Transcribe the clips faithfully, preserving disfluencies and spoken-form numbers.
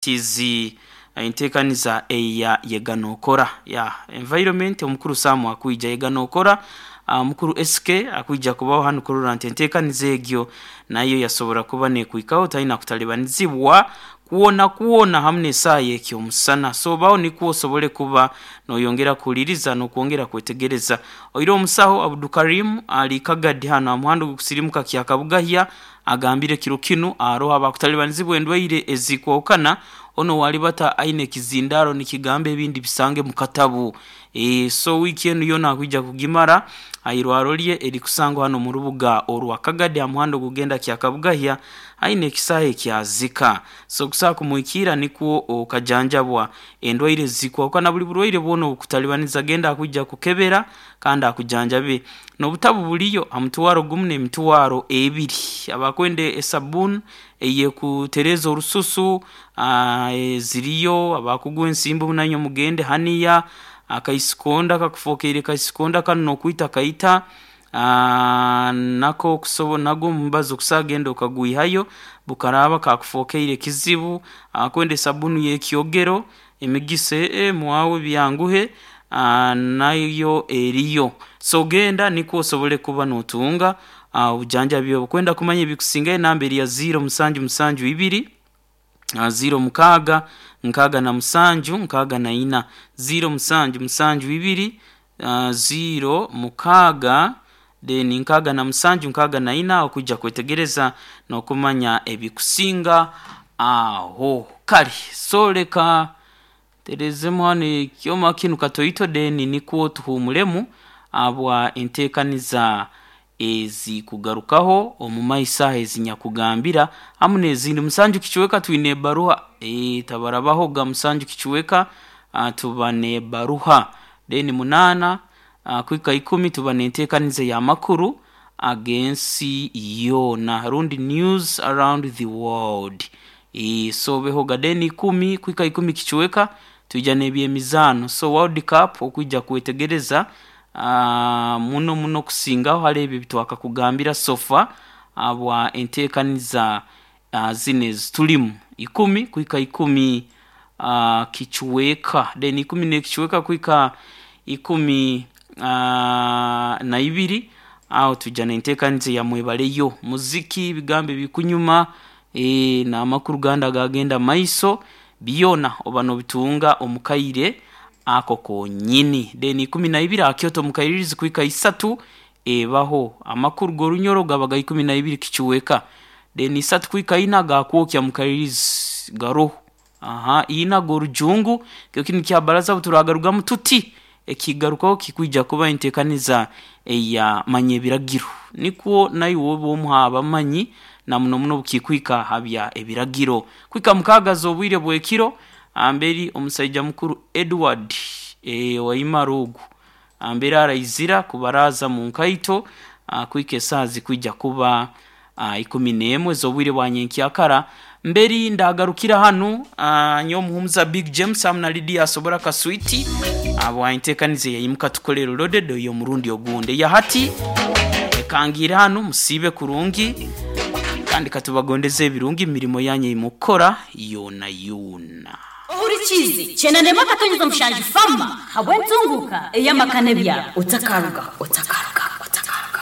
Tizi enteekaniza eya yeganokora ya environment. Omukuru Samu akwija yeganokora, omukuru S K akwija kubaho hanu kurora nti enteekaniza egyo nayo yasobora kuba nekwikaho, talina kutalibanizibwa kwona kwona hamu n'esaaha ekyomusana. So baho nikwo osobole kuba noyongera kuhuliriza n'okwongera kwetegereza. Oire omusaho Abudukarim ali Kagadi hano amuhanda ogukusirimuka Kyakabugahya, agambire kiro kinu aroho abakutalibanizibwa endwaire ezikwahukana. Ono walibata aine ekizindaro nikigamba ebindi bisange mu katabu. e, so wiiki enu yoona akwija kugimara airwaro lye erikusangwa hano mu rubuga orwa Kagadi aha muhanda ogugenda Kyakabugahya, aine ekisaaha ekyazika. So okusobola kumwikiira nikwo okajanjabwa endwaire ezikwahukana, buli burwaire bwona obukutalibaniza, genda akwija kukebera kandi akujanjabe. N'obutabu buliyo ha mutwaro gumu n'emitwaro ebiri. Abakwenda esabuni eyekutereza orususu ziriyo, abakugwa ensimbu nanywe mugende haniya akaisikonda kakufokeire kaisikonda kanu n'okwita kaita nako kusobo nagwo omubazi okusobola genda okagwihayo bukaraba kakufokeire kizibu. Akwenda esabuni y'ekyogero emigisa ee mwawe byanguhe, nayo eriyo. So genda nikwo osobole kuba notunga obujanjabi obu. Kwenda kumanya ebikusingayo, enamba eri ya ziro musanju musanju ibiri ziro mukaaga nkaaga na musanju nkaaga na ina, ziro musanju musanju ibiri ziro mukaaga then nkaaga na musanju nkaaga na ina, okwija kwetegereza n'okumanya ebikusinga aho. Kale so leka nterezemu hanu ekyoma kinu katoito, then nikwo tuhuumuremu habwa enteekaniza ezikugarukaho omu maiso aho ezinyakugambira hamu n'ezindi. Musanju kicweka twine ebaruha, ee, tabarabahoga. Musanju kicweka tuba n'ebaruha, then munaana kwika ikumi tuba n'enteekaniza ey'amakuru ag'ensi yoona rundi news around the world. ee, so behoga. Then ikumi kwika ikumi kicweka twija n'ebyemizaano, so World Cup okwija kwetegereza muno muno kusingaho hali ebi ebitwakakugambira so far habwa enteekaniza zinu ezitulimu. Ikumi kwika ikumi kicweka, then ikumi n'ekicweka kwika ikumi na ibiri aho twija n'enteekaniza eya mwebaleyo, muziki, ebigambo ebikunyuma, ee, n'amakuru gandi agagenda maiso byona oba nobitunga omu kaire ako konyini. Then ikumi na ibiri aha Kyoto mukairirizi kwika isatu ebaho amakuru g'orunyoro, gaba ga ikumi na ibiri kicweka. Then isatu kwika ina gakwokya mukairirizi garoho aha ina g'orujungu kyo kinu kya baraza obuturagarugamu tuti ekigarukaho kikwija kuba enteekaniza eya manya ebiragiro, nikwo naiwe obe omu abamanyi na muno muno obukikwika ha bya ebiragiro. Kwika mukaaga z'obwire bw'ekiro amberi omusaija mukuru Edward ee, Waimara ogu amberi araizira kubaraza mu nkaito kwika esaaha zikwija kuba ikumi n'emwe ez'obwire bwa nyenkyakara. Mberi ndagarukira hanu, nyowe omuhumuza Big James hamu na Lydia Asobora Kaswiti habwa enteekaniza eyaimuka tukolere loaded ey'omurundi ogundi. Eya hati ekangiire hanu, musiibe kurungi kandi katubagondeze ebirungi mu mirimo yanyu eyimukukora yoona yoona. Ohurikiize kyenda akatonyeza mushanju fama habw'entunguka ey'amaka n'ebyaro. Otakaruga, otakaruga, otakaruga.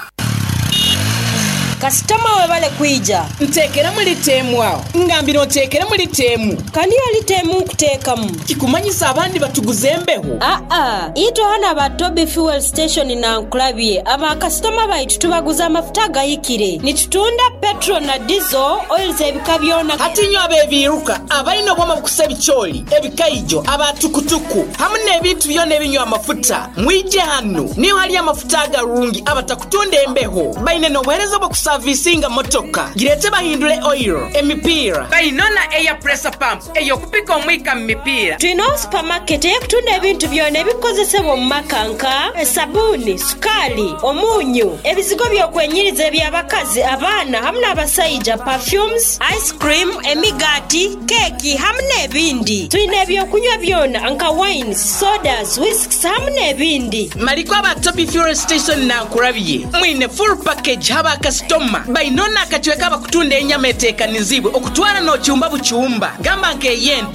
Kasitoma, webale kwija. Nteekeramu lita emu aho. Ngambira onteekeremu lita emu. Kandi yo lita emu nkuteekamu. Kikumanyisa abandi batuguza embeho? Aa, itwe hano aba Tobi Fuel Station na nkulabye aba kasitoma baitu tubaguza amafuta agahikire. Nitutunda petrol na diesel oils ebika byona. Hati inywe ab'ebiiruka abalina obwoma bukusa ebicooli, ebikaijo, abatukutuku hamu n'ebintu byona ebinywa amafuta, mwije hano niho hali amafuta agarungi abatakutunda embeho. Baine n'obuheereza obw'okusavisinga motoka, gireete bahindule oil, emipiira. Bainona air pressure pump ey'okupika omwika mu mipiira. Twinaho supermarket ey'okutunda ebintu byona ebikozesebwa omu maka nka esabuni, sukaali, omunyu, ebizigo by'okwenyiriza eby'abakazi, abaana hamu n'abasaija, perfumes, ice cream, emigaati, keeki hamu n'ebindi. Twine ebyokunywa byona nka wines, sodas, whisks hamu n'ebindi. Maliko aba Tobi Fuel Station nankurabye mwine full package haba kasitoma. Nyama choma. Bainona akacweka bakutunda enyama etekanizibwe okutwara n'ocyumba bucyumba, gamba nk'eyente.